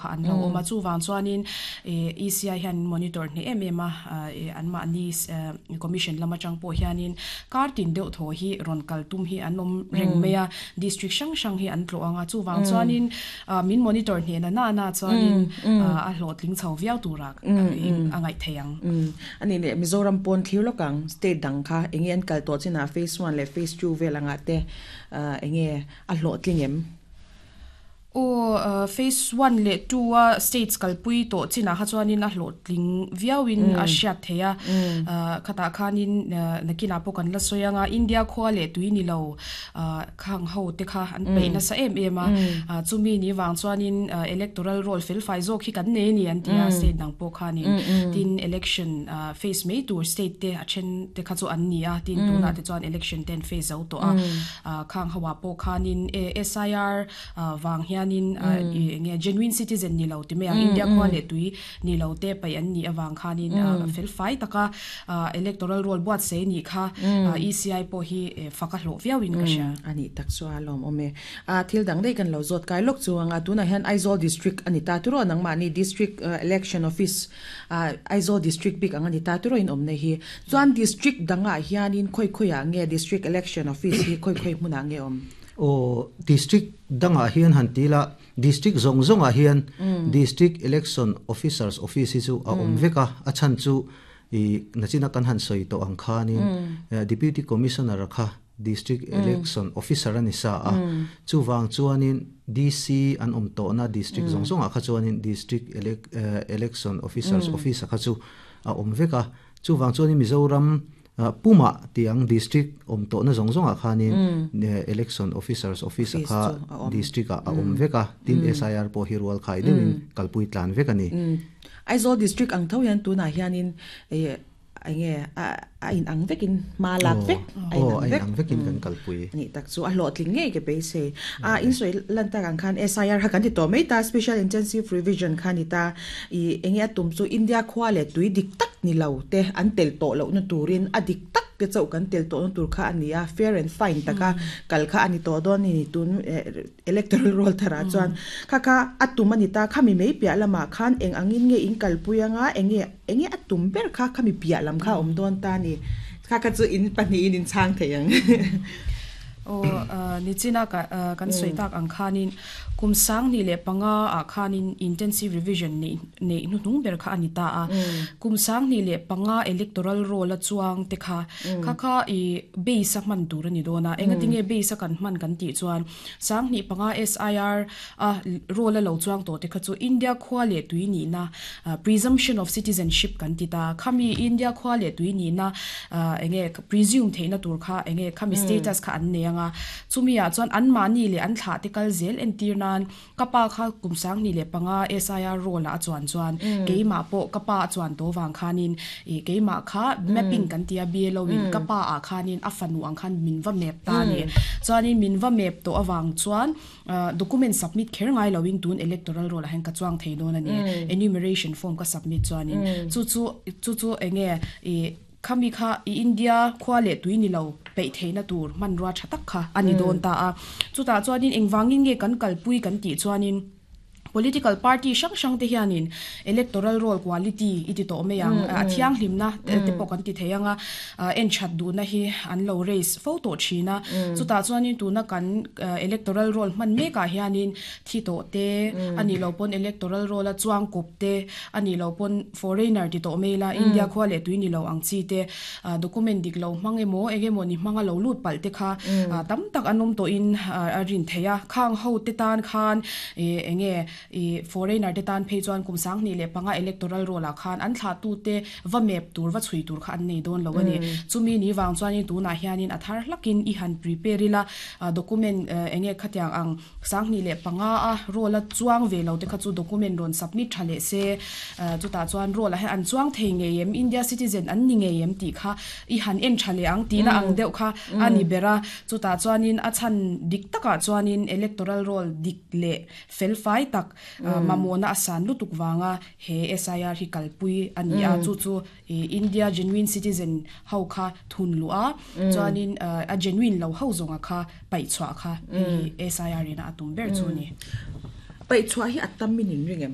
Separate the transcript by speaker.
Speaker 1: kha an lo awm a. Chuvang chuanin ECI hian monitor hneh em em a, anmahni commission lam atang pawh hianin kar tin deuh thaw hi rawn kal tum hi an awm reng mai a, district hrang hrang hi an tlawh ang a. Chuvang chuanin min monitor hneh na na na chuanin a hlawhtling chho viau tura a ngaih theih ang.
Speaker 2: A nih leh Mizoram pawn thlir lawk ang, state dang kha enge an kal tawh chinah phase one leh phase two vel angah te enge a hlawhtling em?
Speaker 1: Aw, phase one leh two a states kalpui tawh chinah kha chuanin a hlawhtling viauin a hriat theih a. Khatah khanin nakinah pawh kan la sawi ang a, India khua leh tui ni lo khang ho te kha an peih nasa em em a. Chumi ni vang chuanin electoral roll felfai zawk hi kan nei a ni an ti a, state dang pawh khanin. Tin, election face mai tur state te a then te kha chu an ni a, tin tunah te chuan election te an face zo tawh a. Khang ho ah pawh khanin SIR vang hianin enge genuine citizen ni lo ti mai ang, India khua leh tui ni lo te paih an nih avang khanin felfai taka electoral roll buatsaih a nih kha ECI pawh hi fak a hlawh viauin ka hria.
Speaker 2: A nih tak chu a lawmawm e. Thil dang daih kan lo zawt kai lawk chu ang a, tunah hian Aizawl District a ni ta tiraw nangmahni District Election Office Aizawl District bik ang a ni ta tiraw in awmna hi. Chuan District dangah hianin khawi khawiah nge District Election Office hi khawi khawi hmunah nge awm?
Speaker 3: Aw, District dangah hian han ti ila, District zawng zawngah hian District Election Officers Office hi chu a awm vek a, a chhan chu i nachina kan han sawi tawh ang khanin Deputy Commissioner-a kha District Election Officer a ni sa a, chuvang chuanin DC an awm tawhna District zawng zawngah kha chuanin District Election Officers Office-a kha chu a awm vek a, chuvang chuanin Mizoram pumah tih ang District awm tawhna zawng zawngah khanin Election Officers Office-a kha District-ah a awm vek a, tin SIR pawh hi rual khai deuhin kalpui tlan vek a ni.
Speaker 2: Aizawl District ang tho hian tunah hianin Enge a in ang vekin hma lak vek a in ang vek.
Speaker 3: Aw, a in ang vekin kan kalpui.
Speaker 2: Anih tak chu a hlawhtling ngei ka beisei. A in sawi lan tak ang khan SIR kha kan ti tawh mai ta, Special Intensive Revision kha a ni ta. I enge a tum chu India khua leh tui dik tak ni lo te an tel tawh lohna turin a dik tak te chauh kan tel tawhna tur kha a ni a, fair and fine taka kal kha a ni tawh dawn a ni tun Electoral roll tharah chuan kha kha a tum a ni ta, khami mei piah lamah khan eng angin nge in kalpui anga enge enge a tum ber kha khami piah lam kha a awm dawn ta a ni. Kha kha chu in pahnihin in chhang thei ang.
Speaker 1: Aw, nichina kan sawi tak ang khanin kum 2005 ah khanin intensive revision neih neih hnuhnung ber kha a ni ta a. Kum 2005 electoral roll a chuang te kha Kha kha i base a hman tur a ni dawn a, engatinge base a kan hman kan tih chuan 2005 SIR a role a lo chuang tawh te kha chu India khua leh tui nihna presumption of citizenship kan ti ta, khami India khua leh tui nihna enge presume theihna tur kha enge khami status kha an nei ang a, chumi ah chuan anmahni leh an thlah te kal zel entir nan Ka pa kha kum 2005 SIR role ah a chuan chuan keimah pawh ka pa a chuan tawh vang khanin ih keimah kha mapping kan tia BLO in ka pa ah khanin a fanu ang khan min va map ta a ni. Chuanin min va map tawh avang chuan document submit kher ngai loin tun electoral roll ah hian ka chuang thei dawn a ni. Enumeration form ka submit chuanin chu chu chu chu enge ih Khami kha i India khua leh tui ni lo peih theihna tur hmanrua tha tak kha a ni dawn ta a. Chutah chuanin engvangin nge kan kalpui kan tih chuanin political party hrang hrang te hianin electoral roll quality i ti tawh mai ang, a thianghlimna te pawh kan ti thei ang a, en that duhna hi an lo raise fo tawh thin a. Chutah chuanin tuna kan electoral roll hman mekah hianin thi tawh te, a nih loh pawn electoral roll a chuang kawp te, a nih loh pawn foreigner ti tawh mai ila, India khua leh tui ni lo ang chi te, document dik lo hmang emaw eng emaw ni hmanga lo lut palh te kha tam tak an awm tawhin a rin theih a. Khang ho te tan khan eng nge foreigner te tan phei chuan kum 2005 electoral roll ah khan an thlahtu te va map tur, va chhui tur kha an nei dawn lo a ni. Chumi ni vang chuanin tunah hianin a thar hlakin i han prepare ila, document eng nge khatiang ang 2005 a roll a chuang ve lo te kha chu document rawn submit tha leh se, chutah chuan roll ah hian an chuang thei ngei em, India citizen an ni ngei em tih kha i han en tha leh ang tihna ang deuh kha a ni ber a. Chutah chuanin a chhan dik takah chuanin electoral roll dik leh felfai tak mamawhna a san lutuk vanga he SIR hi kalpui a ni a, chu chu India genuine citizen ho kha thun luh a, chuanin a genuine lo ho zawnga kha paih chhuah kha hei hi SIR ina a tum ber chu a ni.
Speaker 2: Paih chhuah hi a tam in in ring em?